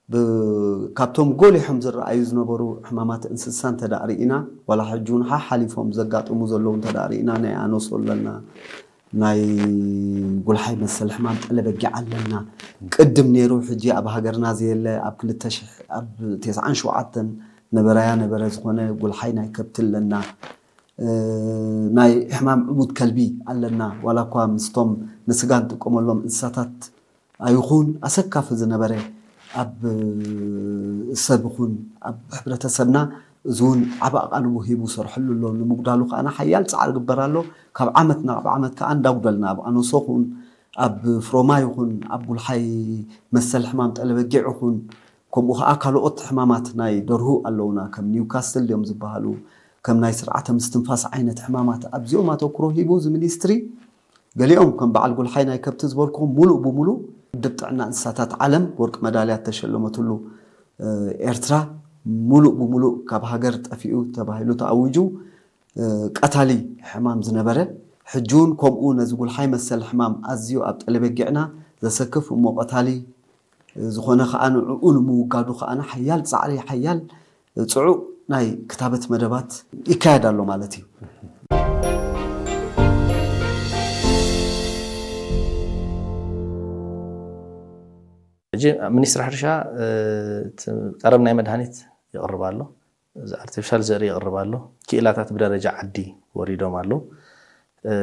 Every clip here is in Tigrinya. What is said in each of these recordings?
ብ- ካብቶም ጎሊሖም ዝረኣዩ ዝነበሩ ሕማማት እንስሳ እንተ ደኣ ርኢና፣ ዋላ ሕጂ እውን ሓሓሊፎም ዘጋጥሙ ዘለዉ እንተ ደኣ ርኢና፣ ናይ ኣኖሶ ኣለና፣ ናይ ጉልሓይ መሰል ሕማም ጠለበጊዕ ኣለና። ቅድም ነይሩ፣ ሕጂ ኣብ ሃገርና ዘየለ፣ ኣብ ክልተ ሽሕ፣ ኣብ ተስዓን ሸውዓተን ነበረያ ነበረ ዝኾነ ጉልሓይ ናይ ከብቲ ኣለና። እ፣ ናይ ሕማም ዕሙት ከልቢ ኣለና። ዋላ እኳ ምስቶም ንስጋ እንጥቀመሎም እንስሳታት ኣይኹን ኣሰካፊ ዝነበረ፣ ኣብ ሰብ ይኹን ኣብ ሕብረተሰብና እዚ እውን ዓቢ ኣቓልቦ ሂቡ ሰርሐሉ ኣሎ። ንምጉዳሉ ከኣ ሓያል ጻዕሪ ግበር ኣሎ። ካብ ዓመት ናብ ዓመት ከኣ እንዳጉደልና፣ ኣብ ኣኖሶ ኹን፣ ኣብ ፍሮማ ይኹን፣ ኣብ ጉልሓይ መሰል ሕማም ጠለበጊዕ ይኹን፣ ከምኡ ከኣ ካልኦት ሕማማት ናይ ደርሁ ኣለውና። ከም ኒውካስትል እዮም ዝበሃሉ፣ ከም ናይ ስርዓተ ምስትንፋስ ዓይነት ሕማማት። ኣብዚኦም ኣተኩሮ ሂቡ እዚ ሚኒስትሪ፣ ገሊኦም ከም በዓል ጉልሓይ ናይ ከብቲ ዝበልኩኹም፣ ሙሉእ ብሙሉእ ውድብ ጥዕና እንስሳታት ዓለም ወርቂ መዳልያ እተሸለመትሉ፣ እ፣ ኤርትራ፣ ሙሉእ ብሙሉእ ካብ ሃገር ጠፊኡ ተባሂሉ ተኣዊጁ፣ እ፣ ቀታሊ ሕማም ዝነበረ፣ ሕጂ እውን ከምኡ ነዚ ጉልሓይ መሰል ሕማም ኣዝዩ ኣብ ጠለበጊዕና ዘሰክፍ እሞ ቀታሊ ዝኾነ ከኣ ንዕኡ ንምውጋዱ ከኣ ሓያል ጻዕሪ፣ ሓያል ጽዑቕ ናይ ክታበት መደባት ይካየድ ኣሎ ማለት እዩ። ሕጂ ሚኒስትሪ ሕርሻ፣ እ፣ እቲ ቀረብ ናይ መድሃኒት ይቕርብ ኣሎ፣ እዚ ኣርቲፊሻል ዘርኢ ይቕርብ ኣሎ፣ ክኢላታት ብደረጃ ዓዲ ወሪዶም ኣለዉ። እ፣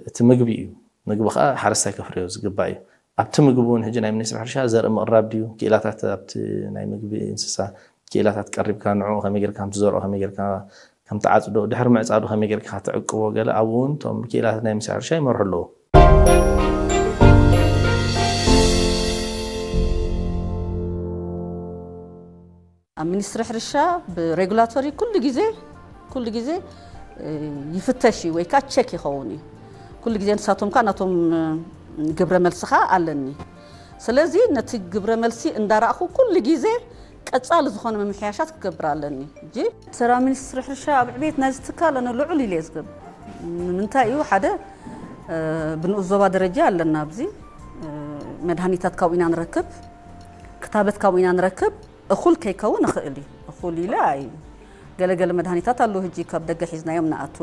እቲ ምግቢ እዩ። ምግቢ ከዓ ሓረስታይ ከፍርዮ ዝግባእ እዩ። ኣብቲ ምግቢ እውን ሕጂ ናይ ሚኒስትሪ ሕርሻ ዘርኢ ምቕራብ ድዩ፣ ክኢላታት ኣብቲ ናይ ምግቢ እንስሳ ክኢላታት ቀሪብካ ንዕኡ ከመይ ጌርካ ከም ትዘርኦ፣ ከመይ ጌርካ ከም ትዓጽዶ፣ ድሕሪ ምዕጻዱ ከመይ ጌርካ ክትዕቅቦ፣ ገለ ኣብኡ እውን እቶም ክኢላታት ናይ ሚኒስትሪ ሕርሻ ይመርሑ ኣለዉ። ኣብ ሚኒስትሪ ሕርሻ ብሬጉላቶሪ ኩሉ ግዜ ኩሉ ግዜ እ፣ ይፍተሽ እዩ ወይ ከዓ ቸክ ይኸውን እዩ። ኩሉ ግዜ ንሳቶም ከዓ ናቶም እ፣ ግብረ መልሲ ከዓ ኣለኒ። ስለዚ ነቲ ግብረ መልሲ እንዳረእኹ ኩሉ ግዜ ቀጻሊ ዝኾነ ምምሕያሻት ክገብር ኣለኒ። እጂ ተራ ሚኒስትሪ ሕርሻ ኣብ ዕቤት ናይዚ ትካል ኣነ ልዑል ኢለ እየ ዝገብር። ንምንታይ እዩ ሓደ እ፣ ብንኡስ ዞባ ደረጃ ኣለና ኣብዚ እ፣ መድሃኒታት ካብኡ ኢና ንረክብ፣ ክታበት ካብኡ ኢና ንረክብ። እኹል ከይከውን ይኽእል እዩ። እኹል ኢለ ኣይ ገለገለ መድሃኒታት ኣለዉ ሕጂ ካብ ደገ ሒዝናዮም ንኣቱ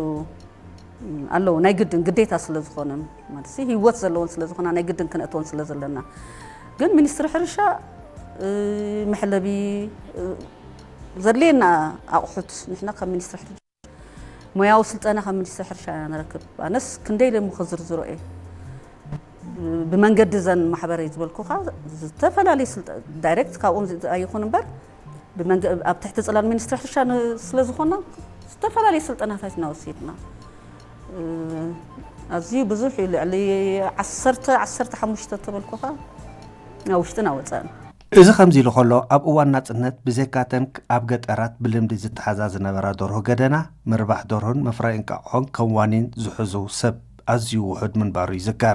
ኣለዉ ናይ ግድን ግዴታ ስለ ዝኾነ ማለት ህይወት ዘለዎን ስለ ዝኾና ናይ ግድን ክነእተወን ስለ ዘለና ግን ሚኒስትሪ ሕርሻ እ፣ መሐለቢ እ፣ ዘድልየና ኣቑሑት ንሕና ካብ ሚኒስትሪ ሕርሻ ሞያዊ ስልጠና ካብ ሚኒስትሪ ሕርሻ ኢና ንረክብ። ኣነስ ክንደይ ኢለ እሞ ክዝርዝሮ እየ። ብመንገዲ እዘን ማሕበረይ ዝበልኩኻ ዝተፈላለዩ ስልጠ ዳይሬክት ካብኦም ዝ- ኣይኹን እምበር ብመንገ- ኣብ ትሕቲ ፅላል ሚኒስትሪ ሕርሻ ን- ስለ ዝኾና ዝተፈላለዩ ስልጠናታት ኢና ወሲድና። እ፣ ኣዝዩ ብዙሕ እዩ። ልዕሊ ዓሰርተ ዓሰርተ ሓሙሽተ ተበልኩኻ ናብ ውሽጥን ኣብ ወፃእን። እዚ ከምዚ ኢሉ ከሎ፣ ኣብ እዋን ናጽነት ብዘይካተን ኣብ ገጠራት ብልምዲ ዝተሓዛ ዝነበራ ደርሆ ገደና፣ ምርባሕ ደርሆን ምፍራይ እንቃቑሖን ከም ዋኒን ዝሕዙ ሰብ ኣዝዩ ውሑድ ምንባሩ ይዝከር።